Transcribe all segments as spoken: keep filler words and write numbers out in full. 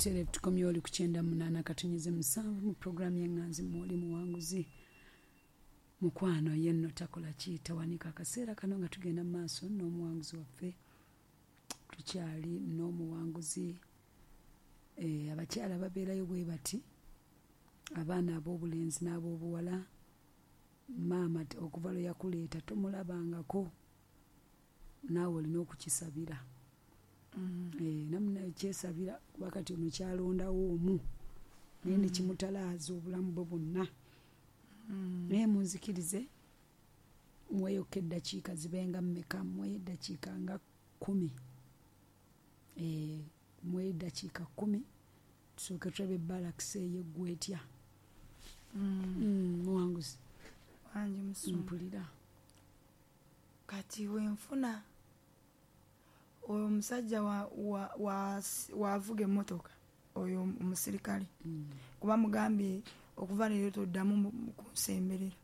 Butereevu tukomye oli ku kyenda munaana katonnyeze musanvu mu puroguramu y'Eŋŋanzi. Mwoli muwanguzi mukwano ye nno takola ki, tawanika. Akaseera kano nga tugenda mu maaso n'omuwanguzi waffe, tukyali n'omuwanguzi. Eh, abakyala babeerayo bwe bati, abaana ab'obulenzi n'ab'obuwala, maama okuva lwe yakuleeta tomulabangako, naawe olina okukisabira. Mm. Eh, namunaye kyesabira kuba kati ono kyalondawo omu naye Mm. nekimutalaaza obulamu bwe bwonna. Mm. Naye munzikirize muweyokka eddakiika zibenga mmeka? Muweyo eddakiika nga kkumi. Eh, muweyo eddakiika kkumi tusooke tulabe balakisi eyo eggwa etya. Mm. Mm, muwanguzi. Wangi musumba. Mpulira. Kati wenfuna oyo omusajja wavuga emmotoka, oyo omusirikale, Mm. kuba mugambye okuva leero toddamu kunsemberera.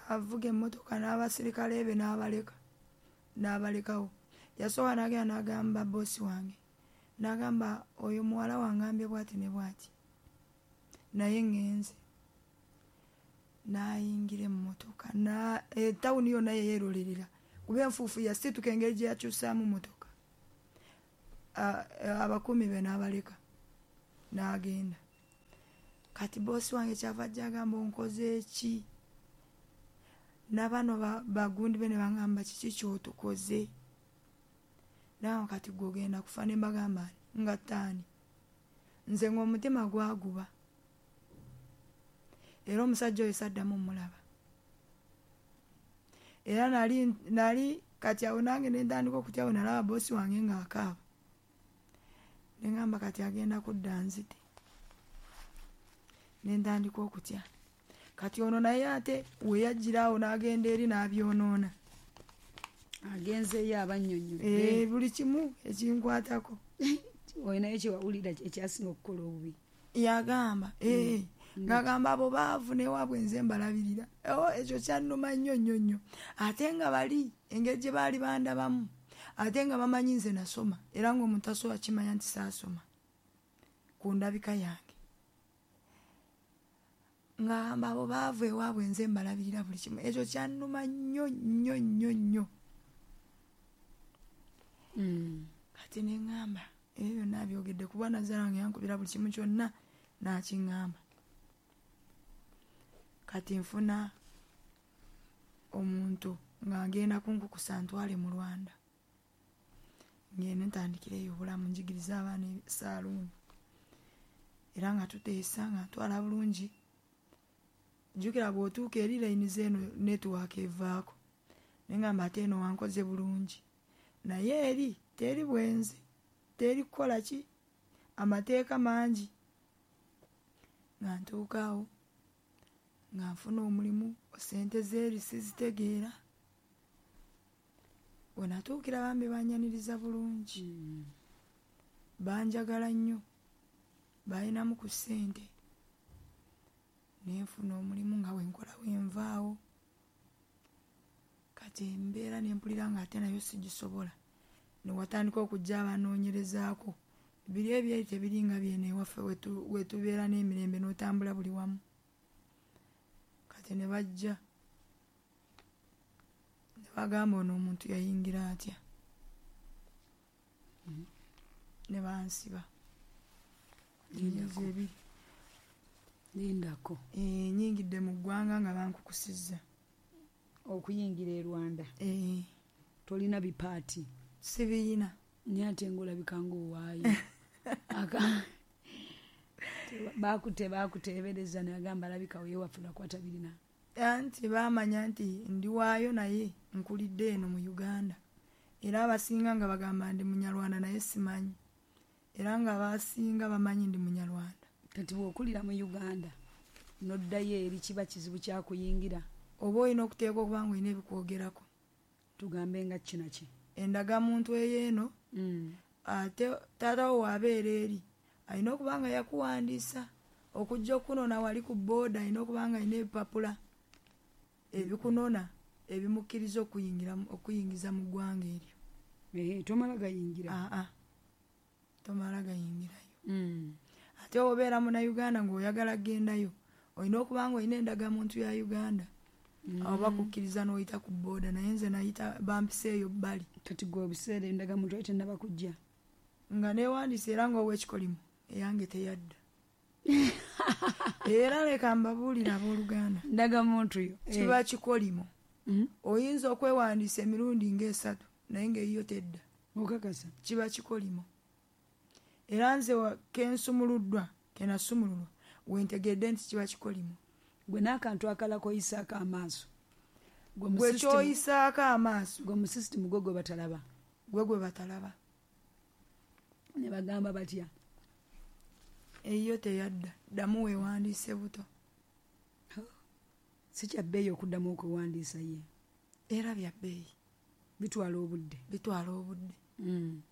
Avuga emmotoka n'abasirikale be n'abaleka, n'abalekawo. Yasooka n'agenda n'agamba boosi wange, n'agamba oyo muwala wangambye bw'ati ne bw'ati, naye ŋŋenze. N'ayingira emmotoka, etawuni yonna ye yeerolerera kuba enfuufu yasituka engeri gye yakyusaamu mmotoka. Abakuumi be n'abaleka n'agenda. Kati boosi wange kyava ajja agamba onkoze ki? N'abano bagundi be ne bangamba kiki ky'otukoze? Nagamba kati ggwe ogenda kufa. Ne mbagamba nga ttaani. Nze ng'omutima gwaguba. Era omusajja oyo saddamu mmulaba. Era nali nali kati awo nange ne ntandika okutya bwe nalaba boosi wange ng'akaaba. Ne ŋŋamba kati agenda kudda nzite. Ne ntandika okutya. Kati ono naye ate we yajjira awo n'agenda eri n'abyonoona. Agenzeeyo abannyonnyodde. Eh, buli kimu ekinkwatako. Olinayo kye wawulira ekyasinga okukola obubi? Yagamba, eh, Mm. ng'agamba abo baavu n'ewaabwe nze mbalabirira. Oh, ekyo kyannuma nnyo nnyo nnyo. Ate nga bali engeri gye baali bandabamu, ate nga bamanyi nze nasoma, era ng'omuntu asobola kimanya nti saasoma ku ndabika yange. Ng'agamba abo baavu ewaabwe nze mbalabirira buli kimu. Ekyo kyannuma nnyo nnyo nnyo nnyo. Mm. Kati ne ŋŋamba ebyo byonna abyogedde kuba nazaala wange yankubira buli kimu kyonna n'akiŋŋamba. Kati nfuna omuntu ng'agenda kunkukusa ntwale mu Rwanda. Ngende ntandikireyo obulamu, njigirize abaana saaluuni. Era nga tuteesa nga ntwala bulungi. Jjukira bw'otuuka eri layini z'eno netiwaaka evaako. Ne ŋŋamba ate eno wankoze bulungi. Naye eri teri bwenzi, teri kukola ki, amateeka mangi. Nga ntuuka awo nga nfuna omulimu, ssente z'eri sizitegeera. We natuukira bambi bannyaniriza bulungi. Mm. Banjagala nnyo, balinamu ku ssente. Ne nfuna omulimu nga bwe nkola bwe nvaawo. Kati embeera ne mpulira ng'ate nayo sigisobola. Ne watandika okujja abanoonyerezaako. Biri ebyeri tebiringa byeno ewaffe we tubeera n'emirembe n'otambula buli wamu. Kati ne bajja ne bagamba ono omuntu yayingira atya? Ne bansiba. Emyezi ebiri. Lindako. Eh, nnyingidde mu ggwanga nga bankukusizza. Okuyingira e Rwanda? Eh. Tolina bipaati? Sibiyina. Naye ate ng'olabika ng'owaayo. Baakute baakuteebereza ne bagamba alabika weewaffe lwakuba tabirina. Anti baamanya nti ndi waayo naye nkulidde eno mu Uganda. Era abasinga nga bagamba ndi Munyarwanda naye simanyi. Era nga abasinga bamanyi ndi Munyarwanda. Kati bw'okulira mu Uganda n'oddayo eri kiba kizibu kya kuyingira. Oba olina okuteekwa okuba ng'olina ebikwogerako. Tugambe nga ki na ki? Endagamuntu ey'eno, Mm. ate taata wo bw'abeera eri alina okuba nga yakuwandiisa okujja okunona wali ku bbooda, alina okuba nga alina ebipapula ebikunona ebimukkiriza okuyingira okuyingiza mu ggwanga eryo. Eh, tomala gayingira. Aa. Tomala gayingirayo. Mm. Ate obeera munnayuganda ng'oyagala kugendayo, olina okuba ng'olina endagamuntu ya Uganda. Mm. Awo bakukkiriza n'oyita ku booda, naye nze nayita bampiseeyo bbali. Kati gwe ebiseera endagamuntu yali tennaba kujja? Nga neewandiise era ng'ow'ekikolimo eyange teyadda. Era leka mbabuulire abooluganda. Ndagamuntu yo. Kiba kikolimo. Mm. Oyinza okwewandiisa emirundi ng'esatu naye ng'eyiyo tedda. Okakasa? Kiba kikolimo. Era nze ke nsumuluddwa, ke nasumululwa, we ntegedde nti kiba kikolimo. Gwe n'akantu akalala k'oyisaako amaaso. Gwe mu Gwe system- ky'oyisaako amaaso. Gwe mu system gwe gwe batalaba. Gwe gwe batalaba. Ne bagamba batya? Eyiyo teyadda, ddamu weewandiise buto. Si kya bbeeyi okuddamu okwewandiisa ye. Era bya bbeeyi. Bitwala obudde. Bitwala obudde. Mm.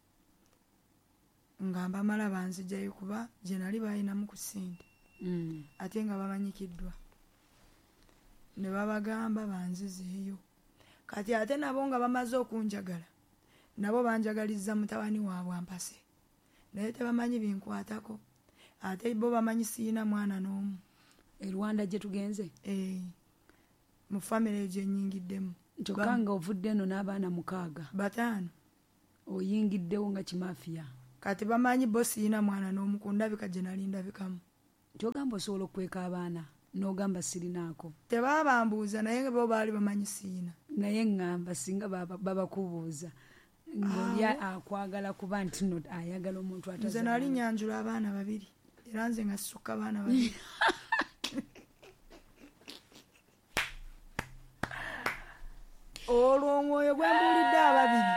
Nga mbamala banzigyayo kuba gye nali balinamu ku ssente. Mm. Ate nga bamanyikiddwa. Ne babagamba banzizeeyo. Kati ate nabo nga bamaze okunjagala, nabo banjagalizza mutabani waabwe ampase. Naye tebamanyi binkwatako. Ate bo bamanyi siyina mwana n'omu. E Rwanda gye tugenze? Eh. Mu famire gye nnyingiddemu. Kyokka nga ovudde eno n'abaana mukaaga. Bataano. Oyingiddewo nga kimaafiya. Kati bamanyi bo siyina mwana n'omu ku ndabika gye nali ndabikamu. Ky'ogamba osobola okweka abaana n'ogamba sirinaako. Tebaabambuuza naye bo baali bamanyi siyina. Naye ŋŋamba singa baba-, babakubuuza. Ng'oli akwagala kuba nti nno ayagala omuntu Nze atazaala. nali nnyanjula abaana babiri. Era nze nga sisukka abaana babiri. Olwo omwoyo gwe mbuulidde ababiri.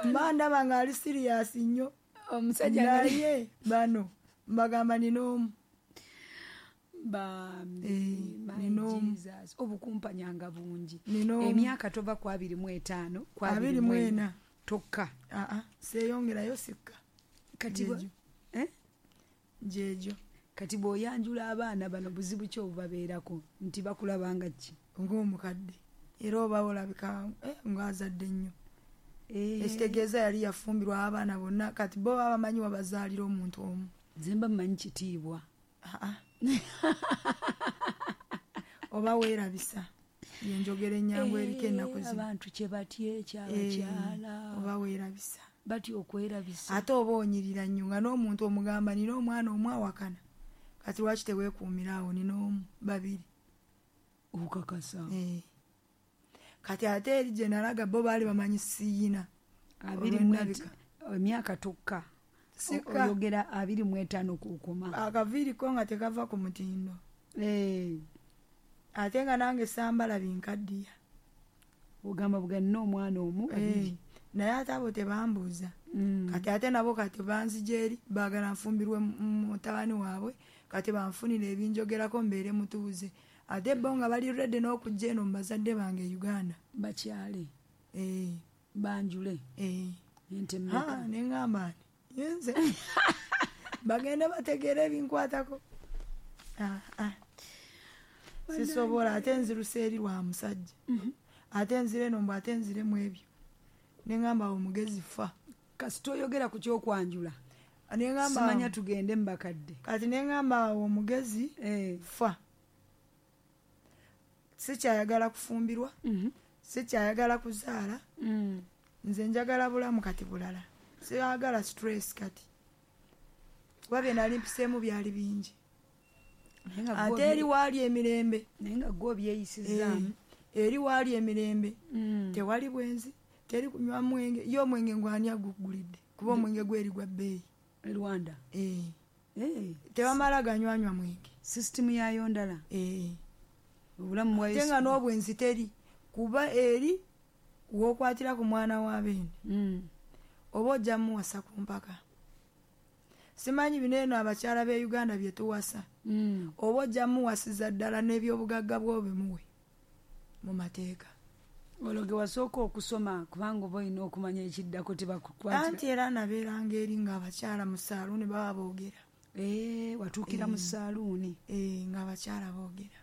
Mba ndaba ng'ali siriyasi nnyo. Omusajja nga Naye bano mbagamba nina omu. Bambi, Eh, my nina omu. Jesus. Obukumpanyanga bungi. Nina omu. Emyaka tova ku abiri mu etaano, ku abiri Abiri mu mu ena. ena. Tokka. Aa, seeyongerayo sikka. Kati bwe- Gyegyo. Eh? Gyegyo. Kati bw'oyanjula abaana bano buzibu ki obubabeerako nti bakulaba nga ki? Ng'omukadde. Era oba olabika, eh, ng'azadde nnyo. Eh. Ekitegeeza yali yafumbirwa abaana bonna, kati bo baba bamanyi wabazaalira omuntu omu. Nze mba mmanyi kitiibwa. Aa. Oba weerabisa. Yenjogera ennyangu eriko ennaku zino. Abantu kye batya ekyabakyala. Eh, oba weerabisa. Batya okwerabisa. Ate oba onyirira nnyo nga n'omuntu omugamba nina omwana omu awakana. Kati lwaki teweekuumira awo nina omu, babiri. Okakasa. Eh. Kati ate eri gye nalaga bo baali bamanyi siyina. Abiri mu Olw'endabika. et-, emyaka tokka. Sika. Oyogera abiri mu etaano kukoma. Akaviiri ko nga tekava ku mutindo. Eh. Ate nga nange sambala binkaddiya. Ogamba bwe nina omwana omu, Eh. babiri. Naye ate abo tebambuuza. Mm. Kati ate nabo kati banzija eri, baagala nfumbirwe mu-, mu mutabani waabwe, kati banfunire ebinjogerako mbeere mutuuze. Ate bo nga bali ready n'okujja eno mu bazadde bange e Uganda. Bakyale. Eh. Banjule. Eh. Ente mmeka? Ha, ne ŋŋamba nti, nze. Bagende bategeere ebinkwatako. Ah, ah. Sisobola, ate nziruse eri lwa musajja. Mm-hmm. Ate nzire eno mbu ate nzire mu ebyo. Ne ŋŋamba awo omugezi fa. Kasita oyogera ku ky'okwanjula. Ne ŋŋamba Simanya awo. tugende mu bakadde. Kati ne ŋŋamba awo omugezi Eh. fa. Sikyayagala kufumbirwa. Mm-hmm. Sikyayagala kuzaala. Mm. Nze njagala bulamu kati bulala. Siyagala stress kati. Kuba bye nali mpiseemu byali bingi. Naye nga Ate gwe eri waali emirembe. Naye nga gwe obyeyisizaamu. Eh, eri waali emirembe. Mm. Tewali bwenzi, teri kunywa mwenge. Ye omwenge ngwani agugulidde? Kuba omwenge gweri gwa bbeeyi. E Rwanda? Eh. Eh. Tebamala ganywanywa mwenge. System yaayo ndala? Eh. Obulamu bwa Ate nga Yesu. n'obwenzi teri. Kuba eri w'okwatira ku mwana wa beene. Mm. Oba ojja muwasa ku mpaka. Simanyi bino eno abakyala b'e Uganda bye tuwasa. Mm. Oba ojja muwasiza ddala n'ebyobugagga bw'obimuwe mu mateeka. Olwo ge wasooka okusoma kubanga oba olina okumanya ekiddako tebakukwatira. Anti era nabeeranga eri ng'abakyala mu saaluuni baba boogera. Eh, watuukira mu Eh. saaluuni. Eh, ng'abakyala boogera.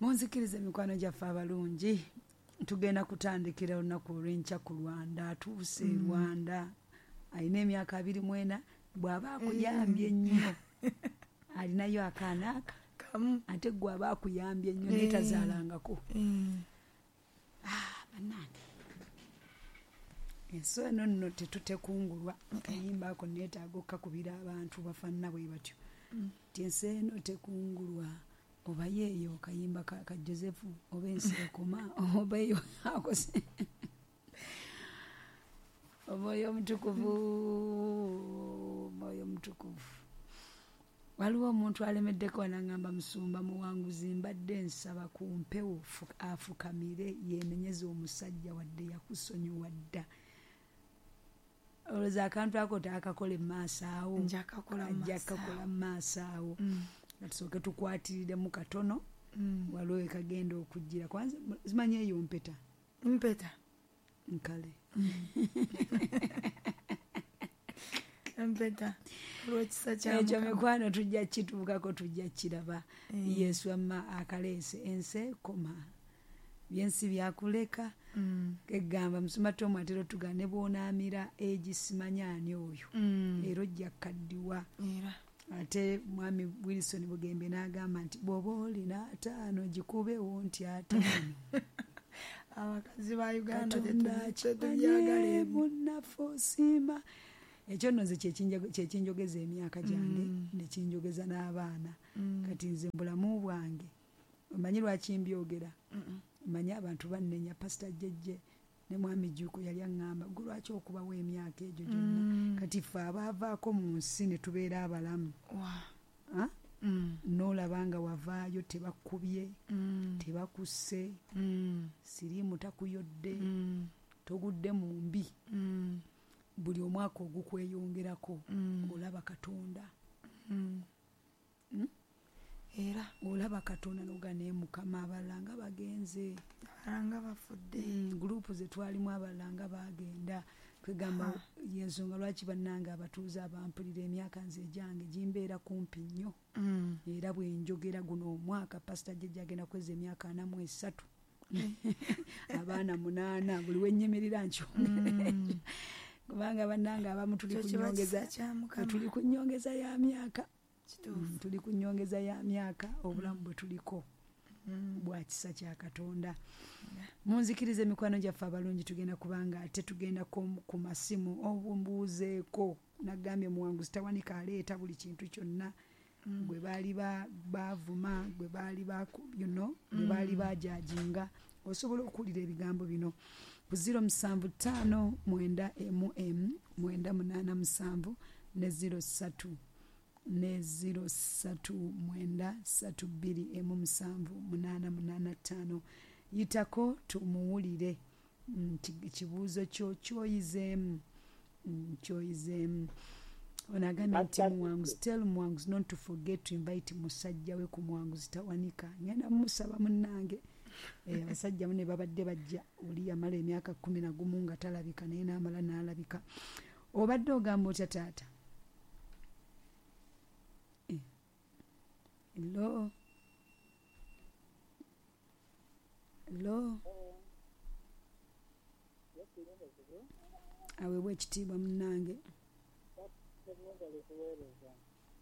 Munzikirize mikwano gyaffe abalungi. Tugenda kutandikira olunaku olw'enkya ku Rwanda. Atuuse e Mm. Rwanda. Alina emyaka abiri mu ena. Bw'aba akuyambye nnyo alinayo akaana aka kamu, ate gwe aba akuyambye nnyo naye tazaalangako. Ah, bannange, ensi eno nno tetutekungulwa. Kayimba ako neetaaga okkakubira abantu bafaanana bwe batyo nti ensi eno tekungulwa, oba yeeyo kayimba ka, ka Joseph, oba ensi ekoma, oba eyo akose omwoyo omutukuvu, omwoyo omutukuvu. Waliwo omuntu alemeddeko anangamba, musumba muwanguzi, mbadde nsaba ku mpewo afukamire yeenenyeze omusajja wadde yakusonyiwa dda. Olowooza akantu ako taakakole mu maaso awo? Nja kakola mu Ajja maaso kakola mu maaso awo. Mm. Tusooke tukwatiriremu katono. Mm. Waliwo ekagenda okujjira. Kwanza simanyi eyo mpeta. Mpeta. Nkale. Mpeta. Olw'ekisa kya Ekyo Mukama. mikwano tujja kituukako, tujja kiraba. Mm. Yesu amma akaleese ensi ekoma. Byensi byakuleka. Mm. Kegamba musumba Tom atera otugamba ne bw'onaamira egisimanya ani oyo. Mm. Era ojja kukaddiwa. Era. Ate mwami Wilson Bugembe n'agamba nti bw'oba olina ataano gikubewo nti ataano. Abakazi ba Uganda Katonda tetubyagala akimanye ebyo. munnaffe osiima. Ekyo nno nze kyekinjogeza emyaka gyange Mm. nekinjogeza n'abaana. Mm. Kati nze mu bulamu bwange omanyi lwaki mbyogera? Mm-mm. Omanyi abantu bannenya, Pastor Jjejje ne mwami Jjuuko yali aŋŋamba gwe lwaki okubawo emyaka egyo gyonna? Mm. Kati ffe abaavaako mu nsi ne tubeera abalamu. Wa. Ha? Mm. N'olaba nga wavaayo tebakubye, Mm. tebakusse, Mm. siriimu takuyodde, Mm. togudde mu mbi. Mm. Buli omwaka ogukweyongerako Mm. olaba Katonda. Mm. Mm? Era. Olaba Katonda n'oga naye Mukama abalala nga bagenze. Abalala nga bafudde. Mm, gurupu ze twalimu abalala nga bagenda. Kwegamba y'ensonga lwaki bannange abatuuze abampulira emyaka nze egyange gimbeera kumpi nnyo. Mm. Era bwe njogera guno omwaka Pastor Jjejje agenda kweza emyaka ana mu esatu. Abaana munaana buli we nnyimirira nkyongera. Mm. Kubanga bannange abamu tuli Ekyo ku kiba nnyongeza, kisa kya Mukama. tuli ku nnyongeza ya myaka. Kituufu. Mm, tuli ku nnyongeza ya myaka, obulamu bwe tuliko Mm. bwa kisa kya Katonda. Munzikirize emikwano gyaffe abalungi, tugenda kubanga ate tugenda ku masimu obumbuuzeeko. Nagambye muwanguzi tawanika aleeta buli kintu kyonna. Mm. Gwe baali baavuma, gwe baali you know, gwe baali baajajinga. Osobola okuwulira ebigambo bino ku zero musanvu ttaano mwenda emu emu mwenda munaana musanvu ne zero ssatu ne zero ssatu mwenda ssatu bbiri emu musanvu munaana munaana ttaano. Yitako tumuwulire kibuuzo kyo kyoyizeemu, kyoyizeemu. Ono agambye nti muwanguzi, tell muwanguzi not to forget to invite musajja we ku muwanguzi tawanika. Ngenda mumusaba munnange. Abasajja ne babadde bajja, oli yamala emyaka kkumi na gumu nga talabika naye n'amala n'alabika. Obadde ogamba otya taata? Hello? Hello? Aweebwa ekitiibwa munnange.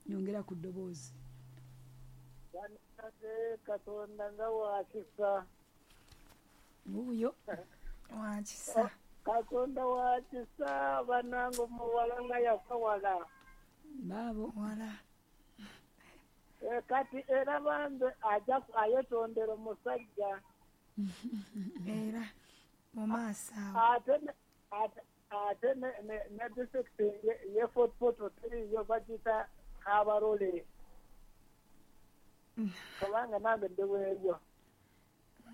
Nyongera ku ddoboozi. Katonda nga wakisa. Wuuyo. Wakisa. Katonda wakisa bannange omuwala nga yafa wala. Baabo. Wala. E, kati era bambe ajja ayetondera omusajja. Era mu maaso awo. Ate ate ne ne district ye Fort Portal three yo bagiyita Kabarole. Kubanga nange ndi weeyo.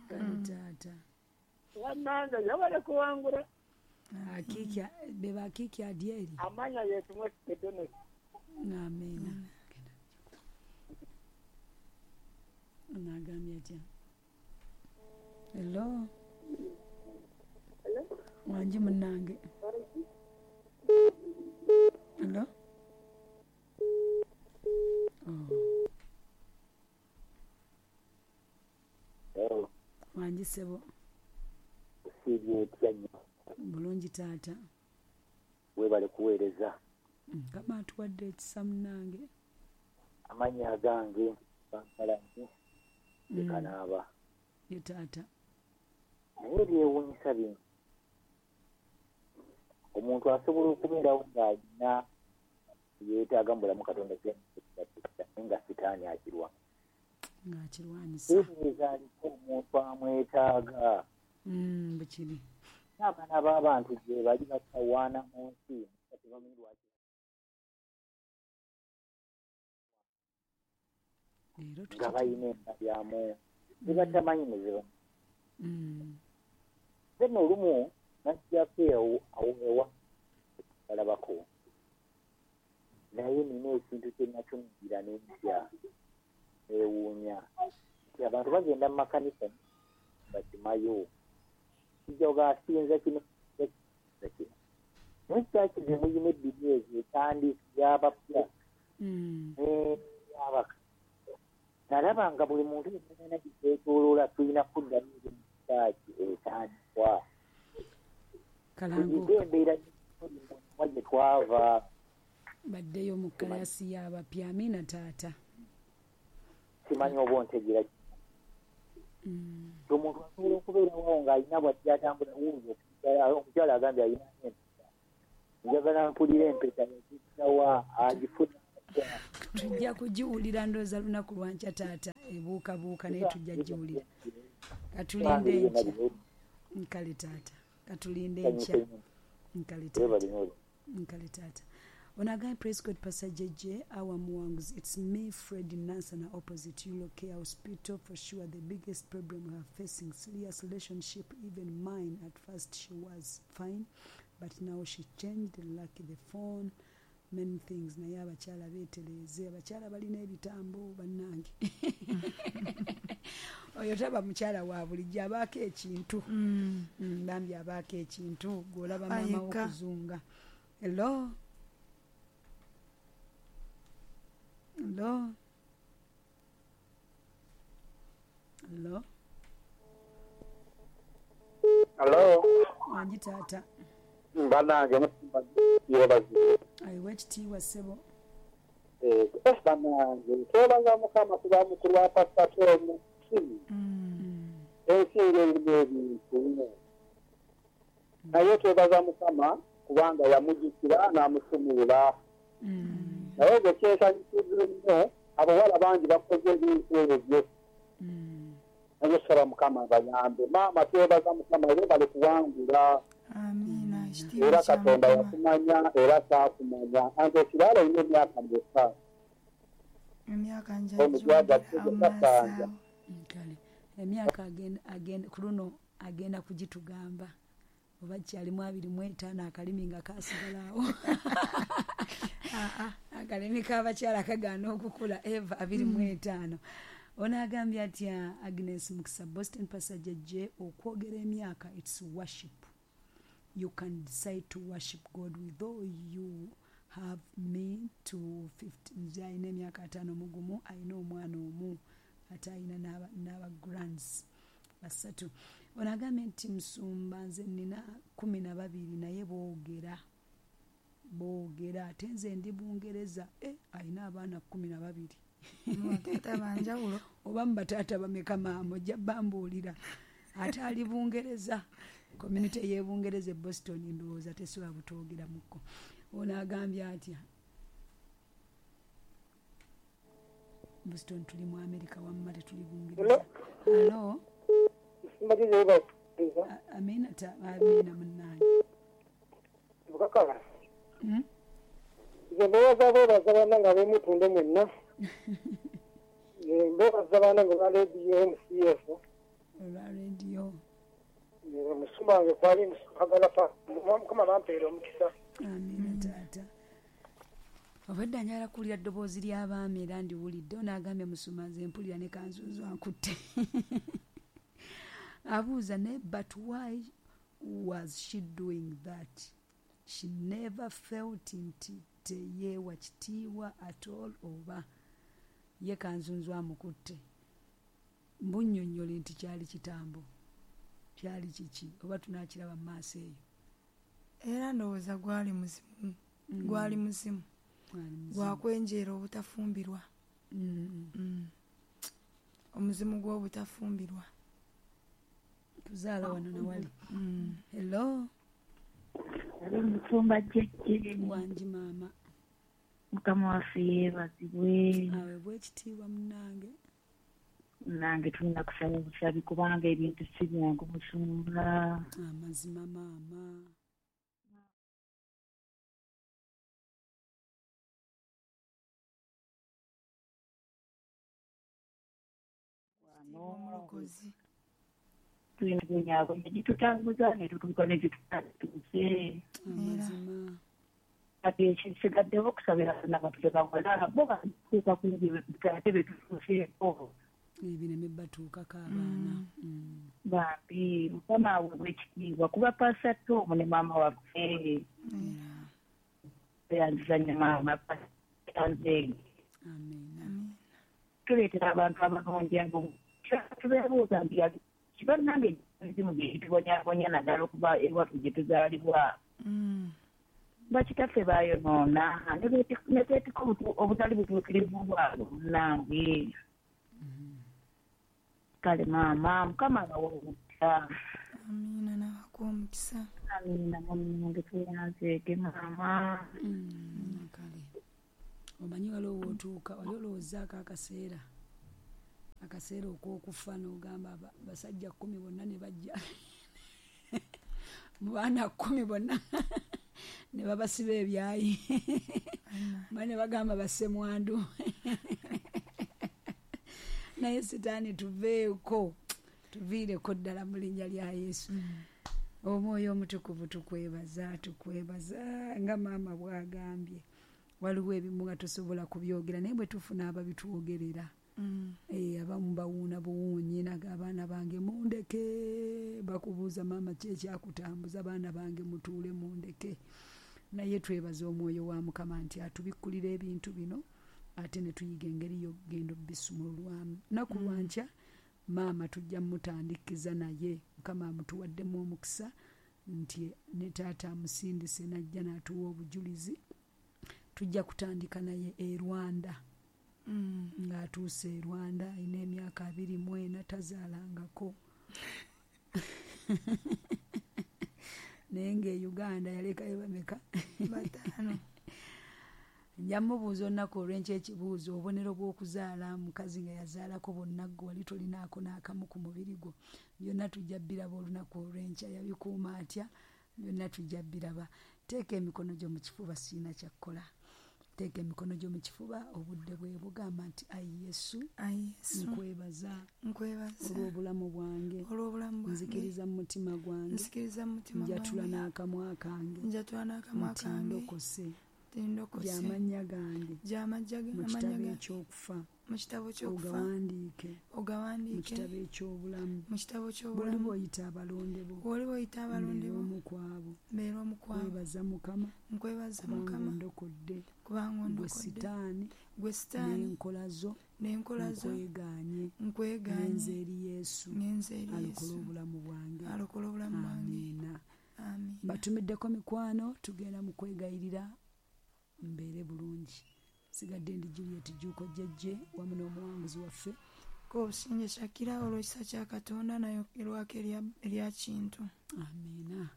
Taata. Bannange yabale kuwangula. Akiki be bakiki adyeri. Amanya yetu mwesi. Amiina. Anagambye atya? Hello? Hello? Wangi munnange. Hello? Oh. Hello. Wangi ssebo. Bulungi taata. Weebale kuweereza. Mukama atuwadde ekisa munnange. Amannya agange bankalanyi ekanaaba. Ye taata. Naye ebyewuunyisa bino, omuntu asobola okubeerawo ng'alina yeetaaga mu bulamu Katonda naye nga sitaani akirwa. Ng'akirwanyisa. Teebereza aliko omuntu amwetaaga. Mm, bwe kiri. N'abaana b'abantu gye bali batawaana mu nsi tebamanyi lwaki. Leero nga tukiti. Balina endabyamu ne batamanyi muzibu. Mm. Nze nno olumu najjako ewo awo ewa balabako, naye nina ekintu kye natunuulira n'entya, neewuunya nti abantu bagenda mu makanisa bakimayo kijja ogasinza kino kino kino, naye kyaki ze muyina ebbiri ezo etandisi y'abapya Mm. n'abaka. Nalaba nga buli muntu yenna gyetwetooloola tulina kuddamu kyaki etandikwa Kalango tuyige embeera wa gye twava. Baddeyo mu kalasi y'abapya. Amiina taata. Simanyi oba ontegeera. Mm. Omuntu asobola okubeerawo ng'alina bw'ajja atambula wuuyo omukyala agambye alina empeta, njagala mpulira empeta yagittawa, agifuna atya? Tujja kugiwulira ndowooza lunaku lwankya taata, ebuukabuuka naye tujja giwulira. Katulinde enkya. Nkale taata, katulinde enkya. Nkale taata. Nkale taata. Ono agambye, "Praise God, Pastor J J, our Muwanguzi. It's me, Fred Nansana, opposite Eurocare Hospital. For sure, the biggest problem we are facing, serious relationship, even mine. At first she was fine, but now she changed, like the phone, many things. Naye abakyala beetereeze, abakyala balina ebitambo bannange. Oyo taba mukyala wa bulijjo, abaako ekintu." Mm. Mm, bambi abaako ekintu gw'olaba maama Ayeka. w'okuzunga. Hello, hello, hello. Hello. Wangi taata. Bannange, yebazi. Ayiwa ekitiibwa ssebo. Eh, bannange, twebaza Mukama kuba mukulu wa Pasita Tomu. Mm. Ensi ng'erimu ebintu, naye twebaza Mukama kubanga yamujjukira n'amusumulula. Mm, naye nze kyensanyusiza ennyo, abawala bangi bakoze ebintu ebyo, mm. naye saba Mukama abayambe. Maama, twebaza Mukama, webale kuwangula. Amiina, ekitiibwa Era kya Katonda Mukama. Yakumanya era saakumanya anti ekirala olina emyaka meka? Emyaka Omugwaga njagiwulira awo maaso kasanja. awo. Kale emyaka agenda agenda ku luno agenda kugitugamba oba kyalimu abiri mu etaano, akalimi nga kasigala awo. Ah, ah. Akalimi k'abakyala kagaana okukula. Eva abiri mu etaano. Ono agambye atya? Agnes Mukisa, Boston. "Pastor J J, okwogera emyaka, it's worship. You can decide to worship God with though you have me to fifty." Nze alina emyaka ataano mu gumu, alina omwana omu, ate alina n'aba n'aba grands basatu. Ono agambye nti, "Musumba, nze nina kumi na babiri naye boogera boogera, ate nze ndi Bungereza." E, alina abaana kumi na babiri. Bataata banjawulo. Oba mu bataata bameka maama, ojja bambuulira. Ate ali Bungereza, community y'e Bungereza e Boston, ndowooza tesobola butwogeramuko. Ono agambye atya? Boston tuli mu America, wamma tetuli Bungereza. Hello. A- amiina ta amiina munnange. Bukakala. Hmm? Nze mbebaza, bebaza bannange ab'emutunde mwenna. Eh, mbebaza bannange ba rediyo M C F. Olwa rediyo. Musumba wange kwali Musukagala pa Mukama bampeera omukisa. Amiina taata. Obadde njagala kuwulira ddoboozi ly'abaami era ndiwulidde. Ono agambye, "Musuma, nze mpulira ne kanzunzu ankutte." Abuuza naye, "But why was she doing that? She never felt nti teyeewa kitiibwa at all. Oba ye kanzunzu amukutte?" Mbunnyonnyole nti kyali kitambo, kyali kiki, oba tunaakiraba mu maaso eyo? Era ndowooza gwali muzimu. Gwali muzimu. Gwakwenjeera obutafumbirwa. Omuzimu gw'obutafumbirwa. Tuzaala wano nawali. Hello. Hello, musumba Jjejje. Wangi maama. Mukama waffe yeebazibwe. Aweebwe ekitiibwa munnange. Nange tulina kusaba busabi kubanga ebintu si byangu musumba. Amazima maama. Omulokozi. Tulina kubonyaabonya gitutambuza ne tutuuka ne gitutuuse. Amazima. Kati ekisigaddewo okusabira n'abantu bawala bo batuuka ku ebyo ate betutuuseeko. Ebireme batuukako abaana. Bambi Mukama aweebwe ekitiibwa kuba Pastor Tom ne maama waffe. Tweyanziza nnyo maama Pastor Nzenge. Amiina. Tuleetera abantu abalungi abo tubeebuuza nti bannange emizimu gye gitubonyaabonya naddala okuva ewaffe gye tuzaalibwa. Bakitaffe baayonoona ne beetikka obutali butuukirivu bwabwe munnange. Kale maama Mukama abawe omukisa. Amiina n'abakuwa omukisa. Amiina munnange tweyanzeege maama. Kale omanyi waliwo w'otuuka wali olowoozaako akaseera akaseera okw'okufa n'ogamba basajja kkumi bonna ne bajja mu baana kkumi bonna ne babasiba ebyayi ne bagamba bassemwandu. Naye Sitaani tuveeko tuviireko ddala mu linnya lya Yesu. Omwoyo Omutukuvu tukwebaza tukwebaza nga maama bw'agambye. Waliwo ebimu nga tosobola kubyogera naye bwe tufuna ababitwogerera. Eh, abamu bawuuna buwuunyi naga abaana bange mundeke, bakubuuza maama ki ekyakutambuza, abaana bange mutuule mundeke. Naye twebaza omwoyo wa Mukama nti atubikkulira ebintu bino ate ne tuyiga engeri y'okugenda obbisumululwamu. Nnaku lwankya maama tujja mutandikiza naye Mukama amutuwaddemu omukisa nti ne taata amusindise n'ajja n'atuwa obujulizi. Tujja kutandika naye e Rwanda. Ng'atuuse e Rwanda alina emyaka abiri mu ena tazaalangako. Naye ng'e Uganda yalekayo bameka? Bataano. Nja mubuuza olunaku olw'enkya ekibuuzo obubonero bw'okuzaala mukazi nga yazaalako bonna ggwe wali tolinaako n'akamu ku mubiri gwo. Byonna tujja bbiraba olunaku olw'enkya yabikuuma atya byonna tujja bbiraba. Teeka emikono gyo mu kifuba sirina kya kukola. Teeka emikono gyo mu kifuba obudde bwe bugamba nti ayi Yesu nkwebaza olw'obulamu bwange nzikiriza mu mutima gwange njatula n'akamwa kange nti ndokose gy'amannya gange mu kitabo ekyokufa ogawandiike mu kitabo eky'obulamu bw'oliba oyita abalonde bo mbeere omu ku abo nkwebaza Mukama kubanga ondokodde gwe Sitaani n'enkola zo nkwegaanye ngenze eri Yesu alokole obulamu bwange. Amiina. Batumiddeko mikwano tugenda mu kwegayirira mbeere bulungi. Sigadde ndi Juliet Jjuuko Jjejje wamu n'omuwanguzi waffe Kobusingye Shakira olw'ekisa kya Katonda nayo erwako erya Kintu. Amiina.